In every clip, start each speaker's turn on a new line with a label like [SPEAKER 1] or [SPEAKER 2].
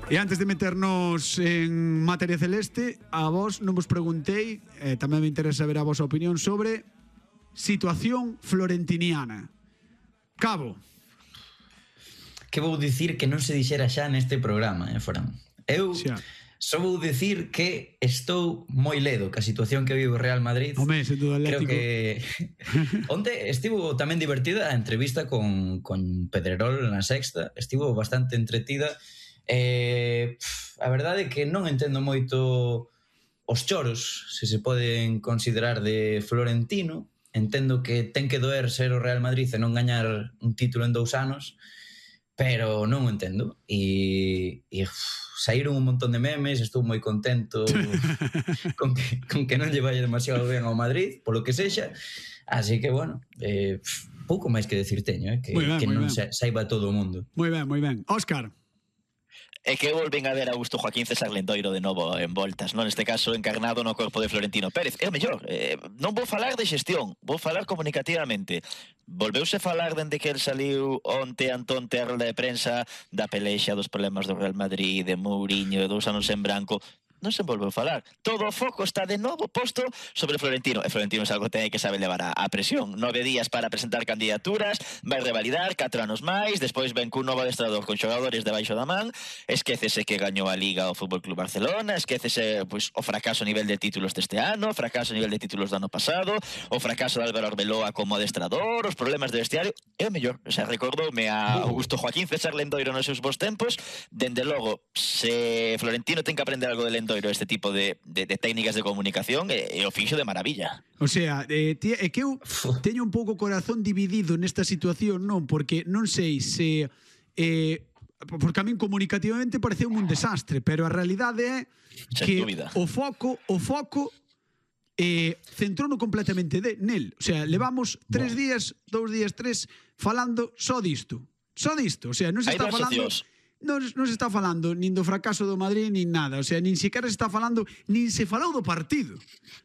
[SPEAKER 1] E antes de meternos en materia celeste, a vos non vos preguntei, tamén me interesa saber a vosa opinión sobre situación florentiniana. Cabo.
[SPEAKER 2] Que vou dicir que non se dixera xa neste programa, Fran? Eu só vou dicir que estou moi ledo ca situación que vive o Real Madrid.
[SPEAKER 1] Home, sen duda Atlético.
[SPEAKER 2] Creo que onte estivo tamén divertida a entrevista con Pedrerol na Sexta. Estivo bastante entretida. A verdade é que non entendo moito os choros, se se poden considerar, de Florentino. Entendo que ten que doer ser o Real Madrid e non gañar un título en 2 anos, pero non o entendo. E saíron un montón de memes, estou moi contento con que non lle vai demasiado ben ao Madrid, polo que sexa. Así que, bueno, pouco máis que decir teño, que non saiba todo o mundo.
[SPEAKER 1] Moi ben, moi ben. Óscar.
[SPEAKER 3] É que volven a ver a Augusto Joaquín César Lendoiro de novo en voltas, non? Neste caso encarnado no corpo de Florentino Pérez. É o mellor, non vou falar de xestión, vou falar comunicativamente. Volveuse falar dende que el saliu onte a rolda de prensa da pelexa dos problemas do Real Madrid, de Mourinho, de 2 anos en branco. Non se volveu falar. Todo o foco está de novo posto sobre Florentino. E Florentino é algo que ten que saber levar a presión. 9 días para presentar candidaturas, vai revalidar 4 anos máis, despois ven cun novo adestrador con xogadores debaixo da man, esquécese que gañou a Liga o Fútbol Club Barcelona, esquécese o fracaso a nivel de títulos deste ano, o fracaso a nivel de títulos do ano pasado, o fracaso de Álvaro Arbeloa como adestrador, os problemas de vestiario. É o mellor. O sea, recordoume a Augusto Joaquín César Lendoiro nos seus bons tempos. Dende logo, se Florentino ten que aprender algo de Lendoiro, este tipo de técnicas de comunicación, é o fixo de maravilla.
[SPEAKER 1] O sea, é que eu teño un pouco o corazón dividido nesta situación, non? Porque non sei se... porque a min comunicativamente pareceu un desastre, pero a realidade é que o foco centrouno completamente nel. O sea, levamos 3 días, 2 días, 3, falando só disto. Só disto. O sea, non se está falando... Non se está falando nin do fracaso do Madrid nin nada, o sea, nin sequera se está falando, nin se falou do partido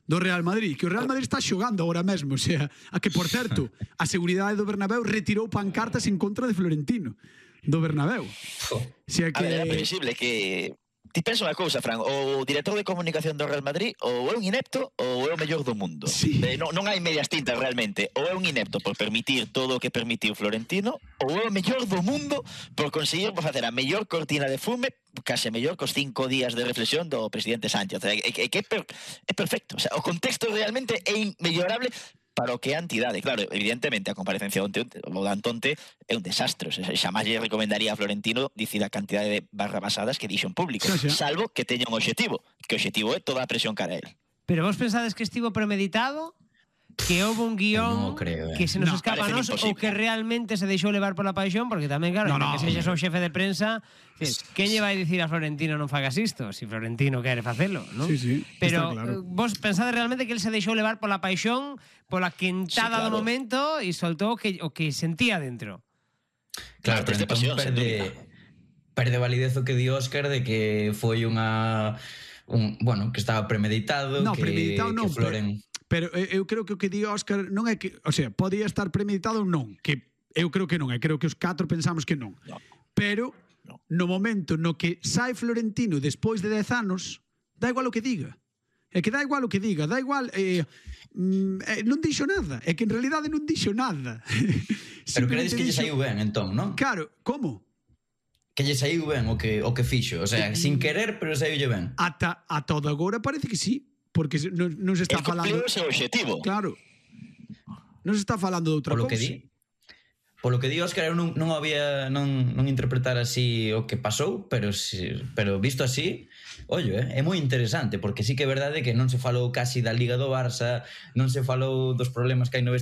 [SPEAKER 1] do Real Madrid, que o Real Madrid está xogando agora mesmo, o sea, a que, por certo, a seguridade do Bernabéu retirou pancartas en contra de Florentino do Bernabéu. O sea, que...
[SPEAKER 3] A ver, é previsible que... Ti pensa unha cousa, Fran, o director de comunicación do Real Madrid ou é un inepto ou é o mellor do mundo.
[SPEAKER 1] Sí.
[SPEAKER 3] Non hai medias tintas realmente. Ou é un inepto por permitir todo o que permitiu Florentino, ou é o mellor do mundo por conseguir facer a mellor cortina de fume, case mellor cos 5 días de reflexión do presidente Sánchez. O sea, é perfecto. O sea, o contexto realmente é inmellorable para o que é a entidade. Claro, evidentemente a comparecencia do Antonte é un desastre. O sea, xamás lle recomendaría a Florentino dicir a cantidade de barrabasadas que dixo en público, salvo que teña un obxectivo, que o obxectivo é toda a presión cara a él.
[SPEAKER 4] Pero vos pensades que estivo premeditado? Que houve un guión que se nos escapa a nos, ou que realmente se deixou levar pola paixón? Porque tamén, claro, que sexas o xefe de prensa, quen lle vai dicir a Florentino non fagas isto, si Florentino quere facelo, non?
[SPEAKER 1] Sí,
[SPEAKER 4] pero
[SPEAKER 1] claro.
[SPEAKER 4] Vos pensade realmente que el se deixou levar pola paixón, pola quentada do momento, e soltou o que sentía dentro?
[SPEAKER 2] Claro, pero entón perde validez o que di Óscar de que foi bueno, que estaba premeditado,
[SPEAKER 1] premeditado non,
[SPEAKER 2] que
[SPEAKER 1] pero eu creo que o que di Óscar non é que, o sea, podía estar premeditado ou non, que eu creo que non, creo que os 4 pensamos que non. Pero no momento no que sai Florentino despois de 10 anos, dá igual o que diga. É que dá igual o que diga, dá igual, non dixo nada, é que en realidade non dixo nada.
[SPEAKER 2] Pero credes que lle saiu ben, entón, non?
[SPEAKER 1] Claro, como?
[SPEAKER 2] Que lle saiu ben o que fixo, o sea, sin querer, pero saiulle ben.
[SPEAKER 1] Ata todo agora parece que sí. Porque non se está falando...
[SPEAKER 3] El cumpliu o seu objetivo.
[SPEAKER 1] Claro. Non se está falando de outra cousa.
[SPEAKER 2] Polo que di Óscar, eu non interpretar así o que pasou, pero visto así, ollo, é moi interesante, porque sí que é verdade que non se falou casi da Liga do Barça, non se falou dos problemas que hai no